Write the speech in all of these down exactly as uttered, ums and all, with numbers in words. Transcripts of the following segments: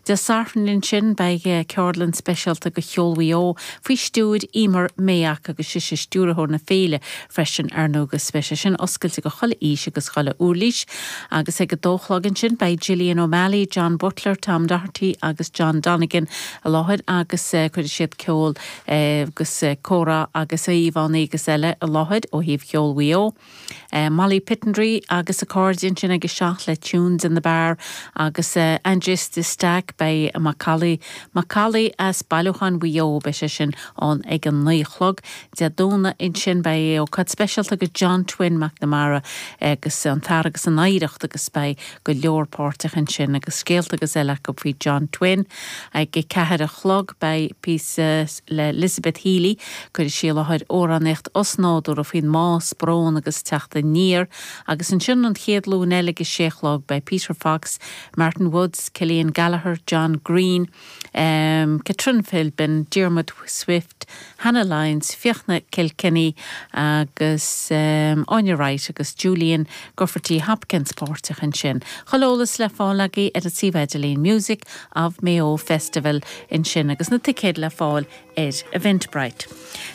Dé Sathairn ansin beidh ceardlann speisialta go cheol Mhaigh Eo faoi stiúir Emer Mayock agus sise stiúrthóir na féile freisin ar ndóigh agus beidh sé sin oscailte go chuile aois agus chuile uirlis agus ag a dó a chlog ansin beidh Gillian O'Malley, John Butler, Tom Doherty agus John Donegan i láthair agus cuirfidh siad ceol agus comhrá agus íomhánna agus eile i láthair ó thaobh cheol Mhaigh Eo. Molly Pittendry agus a cairde ansin ag a seacht le Tunes in the Bar agus Andres de Stack beidh Macallaí Macallaí as Bailiúchán Mhaigh Eo beidh sé sin ann ag an naoi a chlog. Dé Domhnaigh ansin beidh ócáid speisialta go John Twin McNamara agus an fear agus an oidhreacht agus beidh go leor páirteach ansin agus scéalta agus eile acu faoi John Twin. Ag a ceathair a chlog beidh píosa le Elizabeth Healy cuirfidh sí i láthair amhránaíocht osnádúrtha faoin mbás, brón agus teacht aniar agus ansin an chéad Luan eile ag a sé a chlog beidh Peter Fox, Martin Woods, Killian Gallagher, John Green, um, Catrin Philbin, Diarmuid Swift, Hannah Lyons, Fiachna Kilkenny agus um, Anya Wright agus Julian Gufferty Hopkins páirteach ansin. Chuile eolas le fáil agaibh ar an suíomh idirlín Music of Mayo Festival ansin agus na ticéid le fáil ar Eventbrite.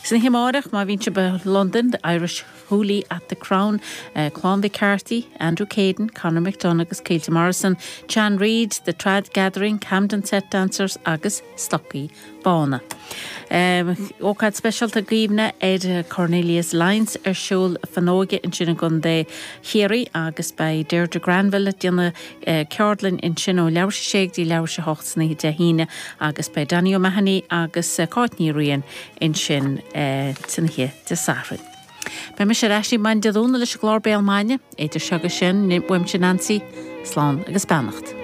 San oíche amárach má bhíonn sibh i London, the Irish Hoolie at the Crown, uh, Clann McCarthy, Andrew Caden, Conor McDonough agus Caoilte Morrison, Chan Reid, The Trad Gathering, Camden Set Dancers agus Stocaí Bána. Um, ócáid speisialta cuimhne ar Cornelius Lyons ar siúl fanóige ansin i gContae Chiarraí agus beidh Deirdre Granville déanamh uh, ceardlann ansin ó leathuair tar éis a sé go dtí leathuair tar éis a hocht san oíche Dé hAoine agus beidh Danny O'Mahony agus uh, Cáit Ní Riain ansin uh, san oíche Dé Sathairn. Beidh mise ar ais maidin Dé Domhnaigh leis an gclár Béal Maidine, idir seo agus sin uaimse Nancy, slán agus beannacht.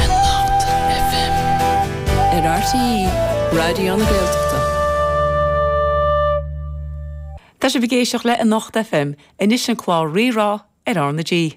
Anocht FM ar RTÉ Raidió na Gaeltachta. Tá sibh ag éisteacht le Anocht FM anois an clár Rí-Rá ar R na G.